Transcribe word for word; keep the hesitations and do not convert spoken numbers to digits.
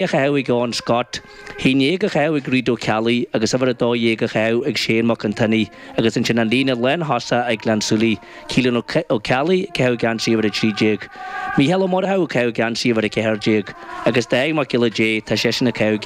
a chaitheamh ag Eoin Scott, haon déag á chaitheamh ag Reid Ó Ceallaigh agus uimhir a dó dhéag á chaitheamh ag Shane Mac an tSionnaigh agus ansin an líne lántosach ag Gleann tSúilí, Keelan Ó Ceallaigh ag caitheamh geansaí uimhir a trí déag, Mícheál Ó Murchú ag caitheamh geansaí uimhir a ceathair déag agus Dáithí Mac Giolla Dé, tá seisean ag caitheamh